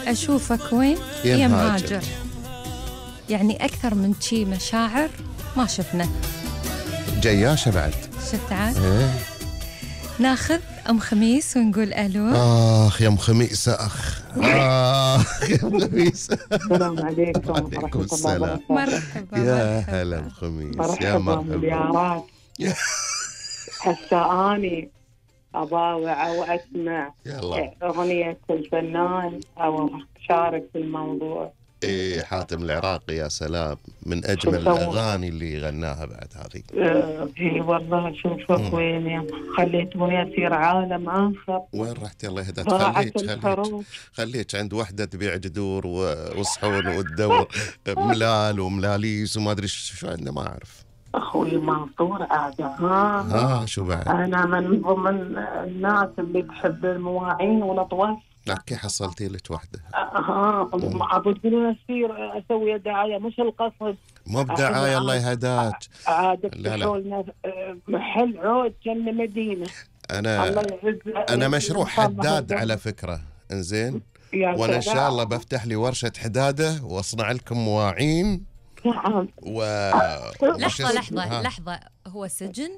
أشوفك وين يا يا مهاجر. مهاجر. يعني أكثر من شي مشاعر ما شفنا. جياشة بعد. شفت عاد؟ إيه. ناخذ أم خميس ونقول ألو. يا أم خميس أخ. يا أم خميس. السلام عليكم وعليكم السلام. مرحبا يا هلا أم خميس. يا مرحبا مرحبا. مليارات. هسه أني أضاوع وأسمع يلا. أغنية الفنان أو أشارك في الموضوع. إيه حاتم العراقي يا سلام، من أجمل الأغاني اللي غناها بعد هذه. إي والله شوفك وين يا خليتوني أسير عالم آخر. وين رحت الله يهداك؟ ضاعت خليك عند وحدة تبيع جذور وصحون وتدور ملال وملاليس وما أدري شو عندنا ما أعرف. أخوي منصور عادة شو بعد؟ أنا من ضمن الناس اللي تحب المواعين والأطواف. لكن حصلتي لك وحدة. أبو تقولون أسير أسوي دعاية مش القصد. مو بدعاية الله يهداك. عادة لا. تقولنا محل عود كان مدينة. أنا مشروع حداد على فكرة. إنزين. وأنا إن شاء الله بفتح لي ورشة حدادة وأصنع لكم مواعين. لحظة هو سجن؟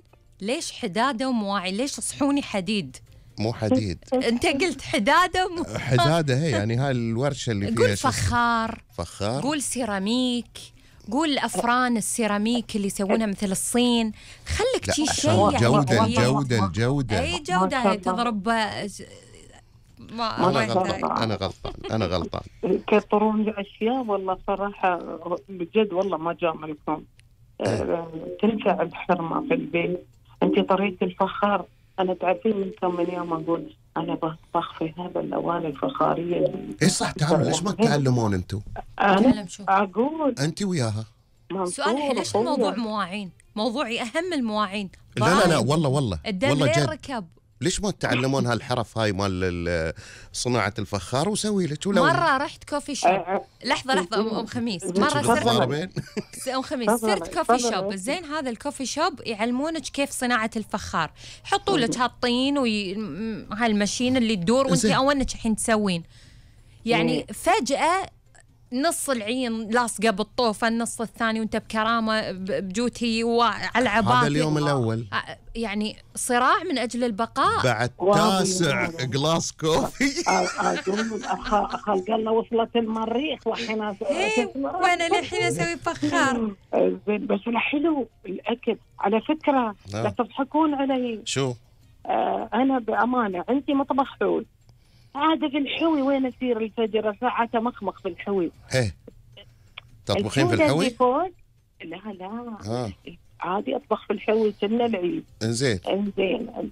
ليش حدادة ومواعين؟ ليش صحوني حديد؟ مو حديد. أنت قلت حدادة حدادة هي يعني هاي الورشة اللي فيها. قول فخار. قول سيراميك. قول أفران السيراميك اللي يسوونها مثل الصين. خلك شيء الجودة. أي جودة هي تضرب. أنا غلطان. كثرون أشياء والله صراحة بجد والله ما جاملكم. تنفع الحرمة في البيت. أنت طريقة الفخار أنا تعرفين من كم من يوم أقول أنا بطبخ في هذا الأواني الفخارية. إيه صح. تعالوا ليش ما تتعلمون أنتوا؟ أنا أقول أنت وياها. سؤال ليش الموضوع مواعين؟ موضوعي أهم المواعين. لا والله جد ركب. ليش ما تتعلمون هالحرف هاي مال صناعة الفخار وسوي لك مرة رحت كوفي شوب. لحظة أم خميس. مرة أم خميس صرت كوفي شوب. زين هذا الكوفي شوب يعلمونك كيف صناعة الفخار. يحطوا لك هالطين وهالماشين اللي تدور وانت أولك الحين تسوين. يعني فجأة نص العين لاصقة بالطوفة، النص الثاني وانت بكرامة بجوتي وعلى عباتي. هذا اليوم الأول يعني صراع من أجل البقاء. بعد 9 جلاس كوفي. خلق الله وصلت المريخ وحين وانا للحين اسوي فخار. زين بس الحلو الاكل على فكرة. لا تضحكون علي. شو انا بأمانة عندي مطبخ حول. عادة في الحوي وين أسير الفجر ساعة مخمخ في الحوي. تطبخين في الحوي؟ لا عادي أطبخ في الحوي كنا العيد. إنزين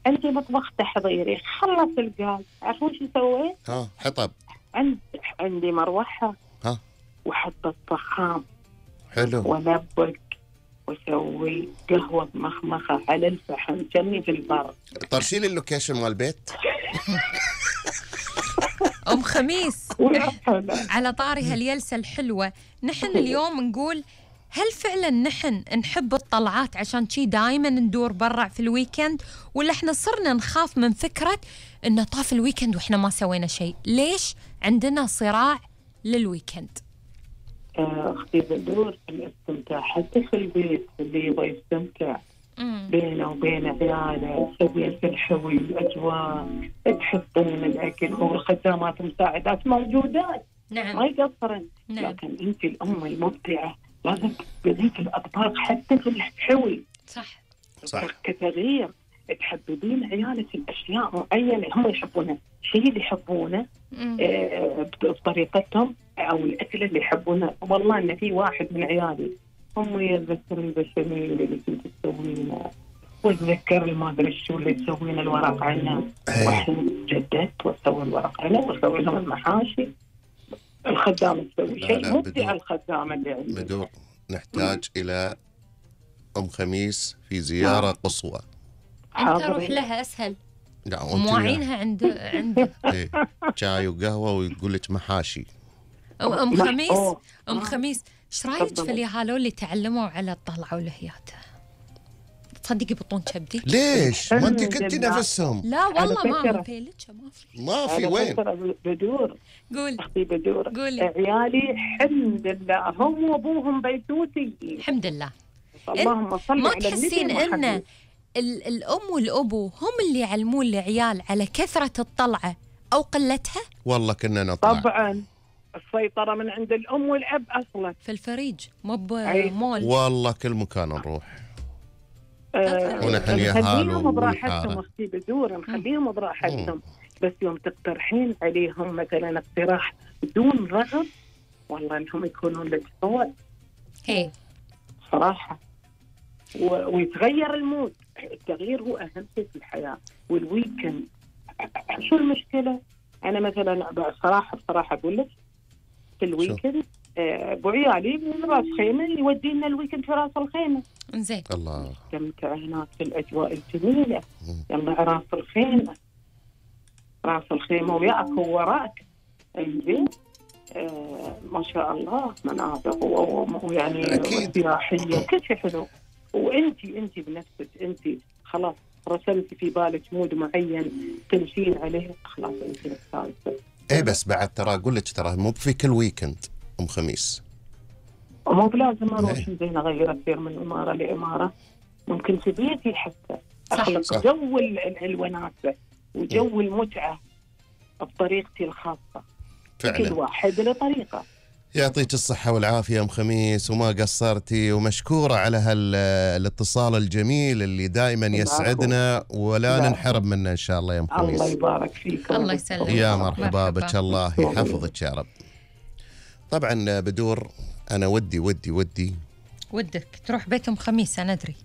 عندي مطبخ تحضيري. خلص الغاز عارفون شو سويت؟ حطب. عندي مروحة وحطت طحام. حلو. ونبق وسوي قهوة مخمخة على الفحم كني في البر. طرشيلي اللوكيشن مال البيت. أم خميس على طاري هاليلسة الحلوة، نحن اليوم نقول هل فعلا نحن نحب الطلعات عشان شي دايما ندور برا في الويكند، ولا احنا صرنا نخاف من فكرة انه طاف الويكند واحنا ما سوينا شيء؟ ليش عندنا صراع للويكند؟ اختي بدور الاستمتاع حتى في البيت اللي يبغى يستمتع بينه وبين عياله. سوي في الحوي الأجواء، تحطين الأكل والخدامات مساعدات موجودات. نعم. ما يقصرن. نعم. لكن أنت الأم المبدعة لازم تبديك الأطباق حتى في الحوي. صح. كتغيير تحببين عيالك الأشياء معينة هم يحبونها، شيء اللي يحبونه بطريقتهم أو الأكل اللي يحبونه. والله إن في واحد من عيالي هم يتذكر البشاميل اللي كنت تسوينه، وتذكر ما ادري شو اللي تسوين الورق عنب. وحين جددت واسوي الورق عنب واسوي لهم المحاشي. الخدامه تسوي شيء مبدع. الخدامه اللي عندي بدور نحتاج الى ام خميس في زياره قصوى. انت روح لها اسهل. مواعينها عند شاي وقهوه ويقول لك محاشي. ام خميس ايش رايك في اليهالو اللي تعلموا على الطلعه والهيات؟ تصدقي بطون كبدي؟ ليش؟ ما أنت كنتي نفسهم. لا والله ما في وين؟ بدور قول أختي بدور. قولي. عيالي الحمد لله هم وأبوهم بيتوتي الحمد لله. اللهم صل على ما تحسين إن الأم والأبو هم اللي يعلمون العيال على كثرة الطلعة أو قلتها؟ والله كنا نطلع. طبعا السيطرة من عند الأم والأب أصلا. في الفريج مو بمول. والله كل مكان نروح. ونحن نخليهم براحتهم أختي بدور، نخليهم براحتهم، بس يوم تقترحين عليهم مثلا اقتراح بدون رغب والله انهم يكونون لك صوت هي صراحة. ويتغير المود. التغيير هو أهم شيء في الحياة. والويكند شو المشكلة؟ أنا مثلا بصراحة أقول لك في الويكند أبو عيالي من راس خيمة يودينا الويكند في راس الخيمة. إنزين. الله. استمتع هناك في الأجواء الجميلة. يلا راس الخيمة. راس الخيمة وياك ووراك. إنزين. ما شاء الله مناظر ويعني سياحية كل شيء حلو. وأنتي بنفسك أنتي خلاص رسمتي في بالك مود معين تمشين عليه خلاص أنتي مستانسة. إيه بس بعد ترى أقول لك ترى مو في كل ويكند أم خميس. مو بلازم أروح زين أغير أصير من إمارة لإمارة. ممكن في بيتي حتى أخلق جو الوناسة وجو المتعة بطريقتي الخاصة. فعلا. كل واحد له طريقة. يعطيك الصحة والعافية أم خميس وما قصرتي ومشكورة على الاتصال الجميل اللي دائما يسعدنا ولا ننحرم منه إن شاء الله يا أم خميس. الله يبارك فيك. الله يسلمك. يا مرحبا بك الله يحفظك يا رب. طبعا بدور أنا ودك تروح بيت أم خميس. أنا أدري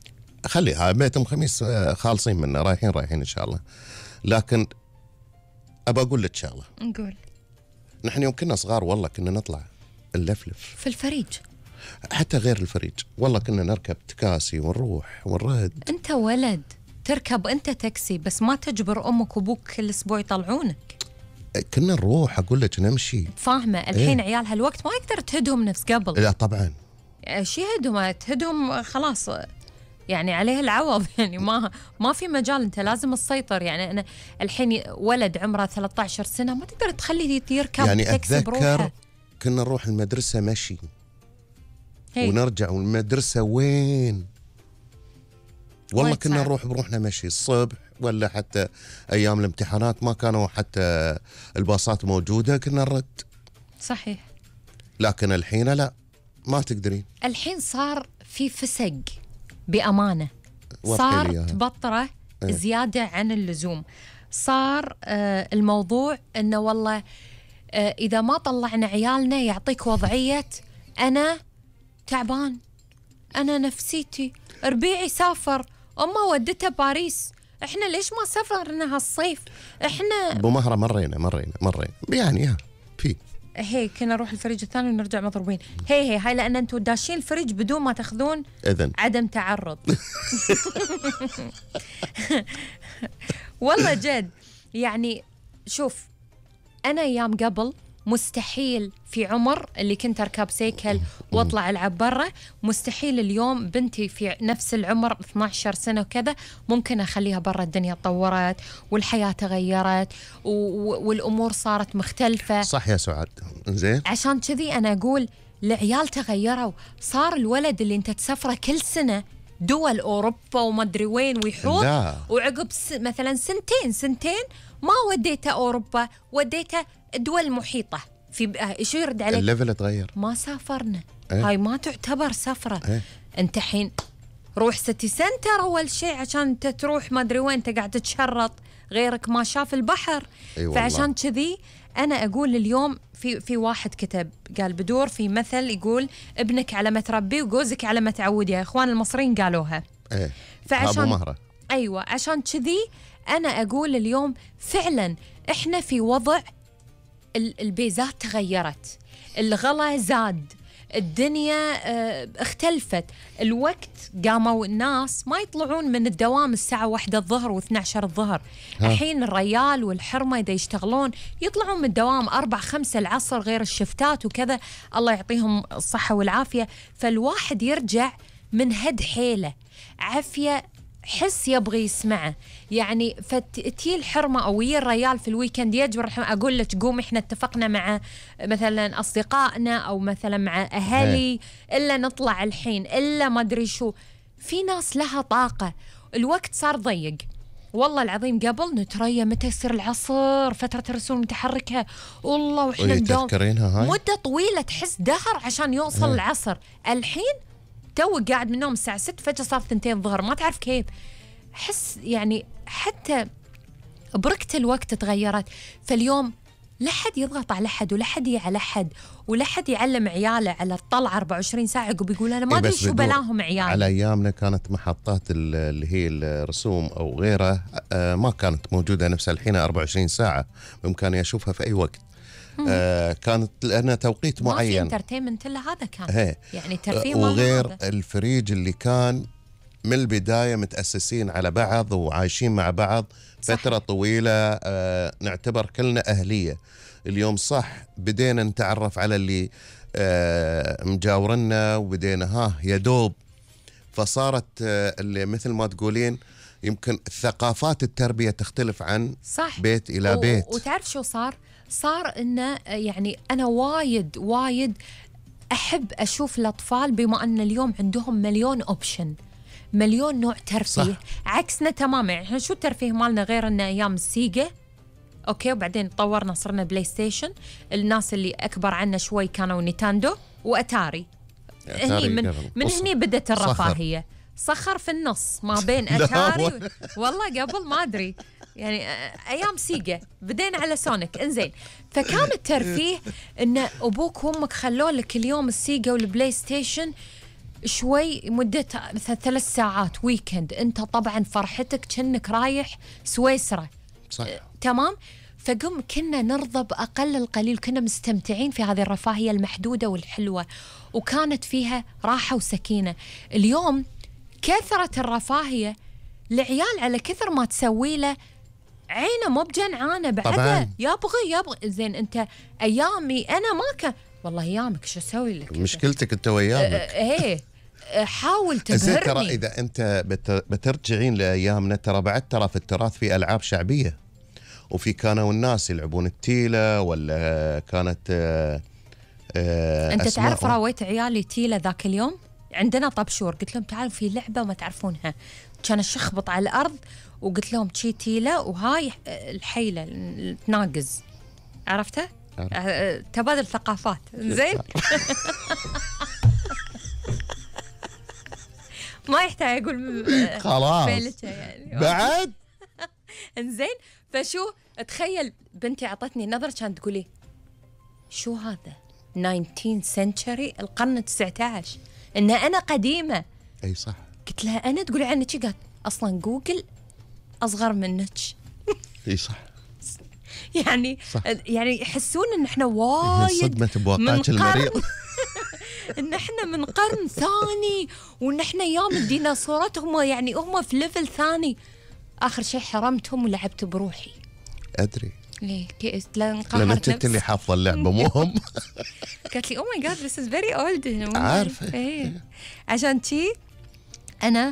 خليها بيت أم خميس خالصين منه رايحين إن شاء الله. لكن أبى أقول لك شغلة. نقول نحن يوم كنا صغار والله كنا نطلع نلفلف في الفريج حتى غير الفريج. والله كنا نركب تكاسي ونروح ونرد. أنت ولد تركب أنت تاكسي بس ما تجبر أمك وأبوك كل أسبوع يطلعونك. كنا نروح أقول لك نمشي. فاهمة الحين إيه؟ عيال هالوقت ما يقدر تهدهم نفس قبل. لا طبعا شي تهدهم خلاص يعني عليه العوض. يعني ما في مجال. أنت لازم تسيطر. يعني أنا الحين ولد عمره 13 سنة ما تقدر تخليه يركب يعني تاكسي بروحه. أتذكر كنا نروح المدرسة مشي ونرجع والمدرسة وين والله كنا نروح بروحنا مشي الصبح ولا حتى أيام الامتحانات ما كانوا حتى الباصات موجودة كنا نرد. صحيح. لكن الحين لا ما تقدرين. الحين صار في فسق بأمانة. صار تبطره زيادة عن اللزوم. صار الموضوع إنه والله إذا ما طلعنا عيالنا يعطيك وضعية أنا تعبان أنا نفسيتي ربيعي سافر أما ودته باريس إحنا ليش ما سافرنا هالصيف إحنا بمهرة مرينا يعني في هي كنا نروح الفريج الثاني ونرجع مضروبين. هاي لأن أنتوا داشين الفريج بدون ما تاخذون إذن عدم تعرض. والله جد يعني شوف أنا أيام قبل مستحيل في عمر اللي كنت أركب سيكل واطلع ألعب برا مستحيل اليوم بنتي في نفس العمر 12 سنة وكذا ممكن أخليها برا. الدنيا تطورت والحياة تغيرت والأمور صارت مختلفة. صح يا سعاد. إنزين عشان كذي أنا أقول العيال تغيروا. صار الولد اللي أنت تسافره كل سنة دول أوروبا وما أدري وين ويحوط وعقب مثلا سنتين ما وديته أوروبا وديته دول محيطة في شو يرد عليك الليفل تغير ما سافرنا. هاي ما تعتبر سفرة. أنت حين روح سيتي سنتر أول شيء عشان أنت تروح ما أدري وين أنت قاعد تتشرط غيرك ما شاف البحر. فعشان كذي أنا أقول اليوم في واحد كتب قال بدور في مثل يقول ابنك على ما تربيه وجوزك على ما تعودي. يا إخوان المصريين قالوها. فعشان مهرة. أيوة عشان كذي أنا أقول اليوم فعلا إحنا في وضع البيزات تغيرت الغلا زاد الدنيا اختلفت. الوقت قاموا الناس ما يطلعون من الدوام الساعة 1 الظهر و12 الظهر. الحين الريال والحرمة إذا يشتغلون يطلعون من الدوام 4-5 العصر غير الشفتات وكذا. الله يعطيهم الصحة والعافية. فالواحد يرجع من هد حيلة عافية حس يبغي يسمعه. يعني فتي الحرمة أو ويا الريال في الويكند يجبر أقول لك قومي إحنا اتفقنا مع مثلا أصدقائنا أو مثلا مع أهلي إلا نطلع الحين إلا ما أدري شو. في ناس لها طاقة. الوقت صار ضيق والله العظيم. قبل نتريا متى يصير العصر فترة الرسوم متحركة والله وإحنا ندوم مدة طويلة تحس دهر عشان يوصل العصر. الحين تو قاعد من النوم الساعة 6 فجأة صار 2 الظهر ما تعرف كيف. حس يعني حتى بركة الوقت تغيرت. فاليوم لا حد يضغط على حد ولا حد على حد ولا حد يعلم عياله على الطلعة 24 ساعة وبيقول أنا ما أدري شو بلاهم عيالي. على أيامنا كانت محطات اللي هي الرسوم أو غيره ما كانت موجودة نفس الحين 24 ساعة بإمكاني أشوفها في أي وقت. كانت لأنها توقيت معين. ما في انترتينمنت إلا هذا كان يعني ترفيه. وغير الفريج اللي كان من البداية متأسسين على بعض وعايشين مع بعض فترة طويلة. نعتبر كلنا أهلية. اليوم صح بدينا نتعرف على اللي مجاورنا وبدينا يدوب. فصارت اللي مثل ما تقولين يمكن ثقافات التربية تختلف عن صح. بيت إلى بيت. وتعرف شو صار إنه يعني أنا وايد أحب أشوف الأطفال بما أن اليوم عندهم مليون أوبشن مليون نوع ترفيه. صح. عكسنا تماما. يعني احنا شو الترفيه مالنا غير ان ايام السيجا اوكي وبعدين طورنا صرنا بلاي ستيشن. الناس اللي اكبر عنا شوي كانوا نينتندو واتاري. هني من هني بدت الرفاهيه. صخر في النص ما بين اتاري والله قبل ما ادري يعني ايام سيجا بدينا على سونيك. انزين فكان الترفيه ان ابوك وامك خلوا لك اليوم السيجا والبلاي ستيشن شوي مدتها مثلا 3 ساعات ويكند. انت طبعا فرحتك كأنك رايح سويسرا. صح. تمام. فقم كنا نرضى بأقل القليل. كنا مستمتعين في هذه الرفاهية المحدودة والحلوة وكانت فيها راحة وسكينة. اليوم كثرة الرفاهية العيال على كثر ما تسوي له عينه مو بجنعانه بعدها يبغي. زين انت ايامي انا ما كان والله ايامك شو اسوي لك؟ مشكلتك انت ويامك. حاول تبهرني. ترى اذا انت بترجعين لايامنا ترى في التراث في العاب شعبيه وفي كانوا الناس يلعبون التيله ولا كانت انت تعرف راويت عيالي تيله ذاك اليوم عندنا طبشور. قلت لهم تعالوا في لعبه ما تعرفونها. كان الشخبط على الارض وقلت لهم شي تيله وهاي الحيله تناقز. عرفتها؟ تبادل ثقافات. زين ما يحتاج اقول خلاص يعني. بعد انزين فشو تخيل بنتي عطتني نظرة كانت تقولي شو هذا 19 سنتشري القرن 19 ان انا قديمة. اي صح. قلت لها انا تقولي عني شي؟ قالت اصلا جوجل اصغر منك. اي صح. يعني صح. يعني يحسون ان احنا وايد صدمة بواقعك المريض. ان احنا من قرن ثاني وان احنا ايام الديناصورات هم يعني هم في ليفل ثاني. اخر شيء حرمتهم ولعبت بروحي. ادري ليه؟ لان انت اللي حافظه اللعبه مو هم. قالت لي او ماي جاد ذس از فيري اولد. عارفه. عشان شي انا